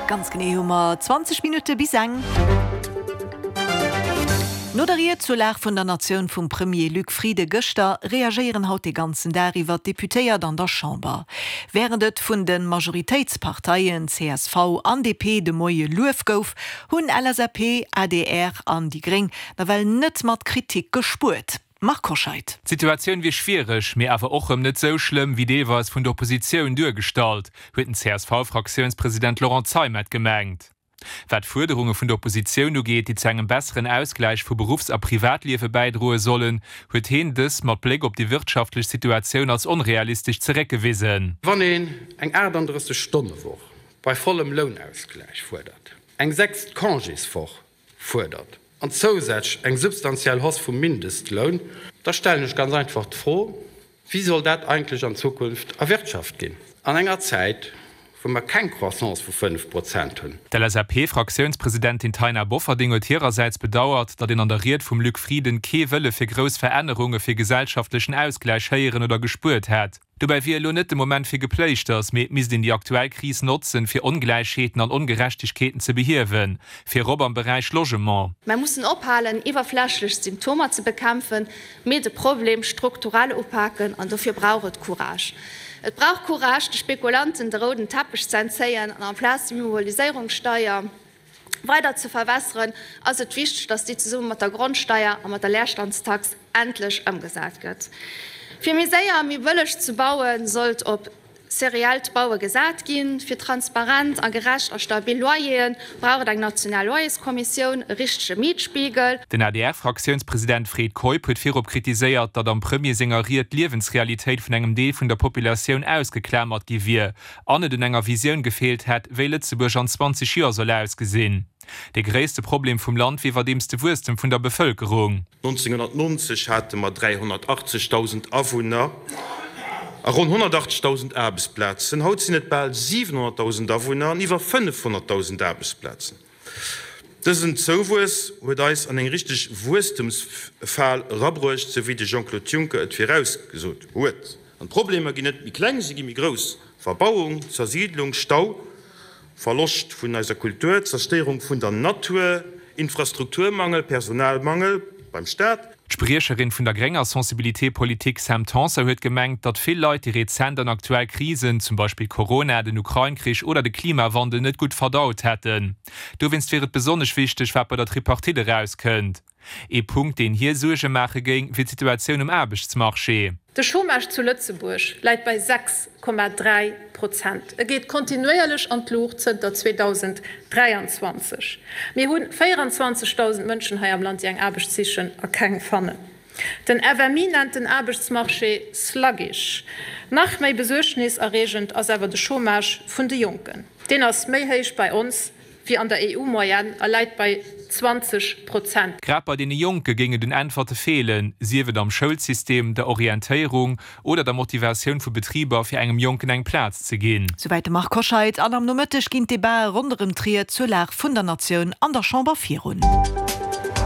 Ganz genee hu mer 20 Minutte bis eng. No der Ried zur Lag vun der Natioun vum Premier Luc Frieden gëschter, reagéieren haut de ganzen Dag iwwer d'Deputéiert an der Chamber. Wärend et vun de Majoritéitsparteien csv an DP de Moie Luef gouf, hunn LSAP, adr an déi Gréng nawell net mat Kritik gespuert. Marc Hoscheid. D'Situatioun wier schwiereg, mee awer och rëm net sou schlëmm, wéi deelweis vun der Oppositioun duergestallt, huet den CSV-Fraktiounspresident Laurent Zeimet gemengt. Wat d'Fuerderunge vun der Oppositioun ugeet, déi zu engem besseren Ausgläich vu Beruffs a Privatliewe bäidroe sollen, huet heen dës mat Bléck op déi wirtschaftlech Situatioun als onrealistesch zeréckgewisen. Wann een eng 38 Stonne-Woch bei vollem Lounausgläich fuerdert, eng sechst Congéswoch fuerdert an zousätzlech eng substantiell Hausse vum Mindestloun, da stellen ech ganz einfach d'Fro, Wéi soll dat eigentlech an Zukunft erwirtschaft ginn an enger Zäit, wou mer keng Croissance vu 5 Prozent hunn? D'LSAP-Fraktiounspresidentin Taina Bofferding huet hirersäits bedauert, datt een an der Ried vum Luc Frieden kee Wëlle fir grouss Verännerunge fir gesellschaftlechen Ausgläich héieren oder gespuert hätt. Dobäi wier elo net de Moment fir Gepléischters, mee et misst een déi aktuell Kris notzen, fir Ongläichheeten an Ongerechtegkeeten ze behiewen, virop am Beräich Logement. Mer mussen ophalen, iwwerflächlech Symptomer ze bekämpfen, mee de Problem strukturell upaken. An dofir brauch et Courage. Et brauch Courage, de Spekulanten de rouden Teppech ze entzéien an amplaz d'Immobiliséierungssteier weider ze verwässeren, ass et wichteg, dass déi zesumme mat der Grondsteier a mat der Leerstandstax endlech ëmgesat gëtt. Fir méi séier a méi bëlleg ze bauen, sollt op seriellt Baue gesat ginn. Fir transparent a gerecht a stabil Loyere brauch et eng national Loyerskommissioun, e richtege Mietspiegel. Den ADR-Fraktiounspresident Fred Keup huet virop kritiséiert, datt am Premier senger Ried d'Liewensrealitéit vun engem Deel vun der Populatioun ausgeklamert gi wier an et un enger Visioun gefeelt hätt, wéi Lëtzebuerg an 20 Joer soll ausgesinn. De gréisste Problem vum Land wier iwwerdeems de Wuesstem vun der Bevëlkerung. 1990 hate mer 380.000 Awunner a ronn 180.000 Aarbechtsplazen. Haut sinn et bal 700.000 Awunner an iwwer 500.000 Aarbechtsplazen. Dësen Zouwuess huet eis an eng richteg Wuesstemsfal erabruecht, sou wéi de Jean-Claude Juncker et virausgesot huet. An d'Problemer ginn net méi kleng, si gi méi grouss, Verbauung, Zersiidlung, Stau, Verloscht vun eiser Kultur, Zerstéierung vun der Natur, Infrastrukturmangel, Personalmangel beim Staat. D'Spriecherin vun der grénger Sensibilité politique Sam Tanson huet gemengt, datt vill Leit déi rezent an aktuell Krisen, zum Beispill Corona, den Ukrain-Krich oder de Klimawandel, net gutt verdaut hätten. Dowéinst wier et besonnesch wichteg, wat bei der Tripartite erauskënnt. Ee Punkt, deen hir Suerge maache géing, wier d'Situatioun um Aarbechtsmarché. De Chômage zu Lëtzebuerg läit bei 6,3 Prozent. E geet kontinuéierlech an d'Luucht zënter 2023. Mir hu 24.000 Mënschen hei am Land, déi eng Aarbecht sichen a keng fannen. Den FMI nennt den Aarbechtsmarché sluggish. Nach méi besuergniserreegend ass awer de Chômage vun de Jonken. Deen ass méi héich bei ons wéi an der EU-Moyenne a läit bei 20 Prozent. Grad bei deene Jonke géing et un Äntwerte feelen, sief et am Schoulsystem, der Orientéierung oder der Motivatioun vu Betriber, fir engem Jonken eng Plaz ze ginn. Souwäit de Marc Hoscheid. An am Nomëtteg ginn d'Debatë ronderëm d'Ried zur Lag vun der Natioun an der Chamber virun.